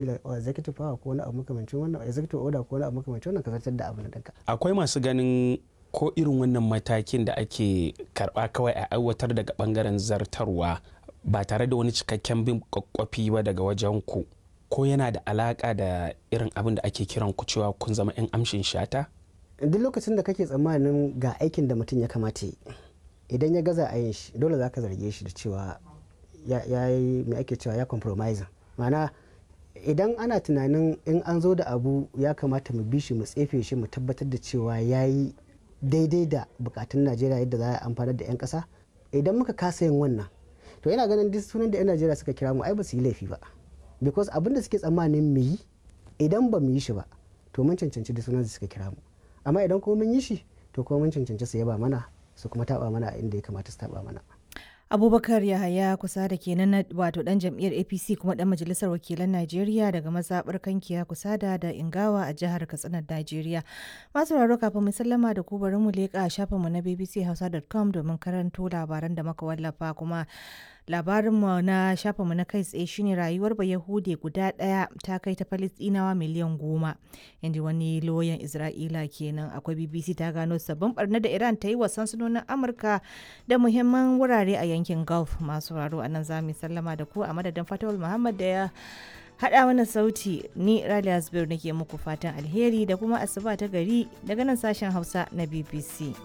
Executive power ko wani abu makamancin wannan, executive order ko wani abu makamancin wannan, ka zartar da abu na ɗinka. Akwai masu ganin ko irin wannan matakin da ake karba kawai a aiwatar daga bangaren zartarwa ba tare da wani cikakken bin kwakwafi ba daga wajen ku, ko yana da alaka da irin abin da ake kiran ku cewa kun zama 'yan amshin shata? Duk lokacin da kake tsammanin ga aikin da mutum ya kamata yi, idan ya gaza a yin shi, dole za ka zarge shi da cewa ya yi mai ake cewa ya compromising. Ma'ana, idan ana tunanin in an zo da abu ya kamata mu bi shi, mu tsefe shi, mu tabbatar da cewa ya yi daidai da bukatun Najeriya yadda za a amfanar da 'yan kasa, idan muka kasa yin wannan, to ina ganin duk sunan da 'yan Najeriya suka kira mu ai ba su yi laifi ba, because abin da suke tsammanin mu yi, idan ba mu yi shi ba, to mun cancanci duk sunan da suka kira mu. Amma idan kuma mun yi shi, to kuma mun cancanci su yaba mana, su kuma taba mana a inda ya kamata su taba mana. Abubakar Yahaya kusa da kenan na wato dan jam'iyyar APC kuma dan majalisar wakilan Najeriya daga mazaɓar Kankiya Kusada da Ingawa a jihar Katsina, Najeriya. Masu raro, kafin mu sallama da ku, bari mu leƙa shafinmu na bbchausa.com domin karanto labaran da muka wallafa. Kuma labarinmu na shafinmu na kai tsaye shine rayuwar Bayahude guda ɗaya ta kai ta Falistinawa miliyan 10, inda wani loyan Isra'ila kenan. Akwai BBC ta gano sabbin barna da Iran ta yi wa sansanonin Amurka da muhimman wurare a yankin Gulf. Masu raro, a nan za mu sallama da ku. A madadin Fatawul Muhammad da ya haɗa mana sauti, ni Raliya Zubairu nake muku fatan alheri da kuma asuba ta gari daga nan sashen Hausa na BBC.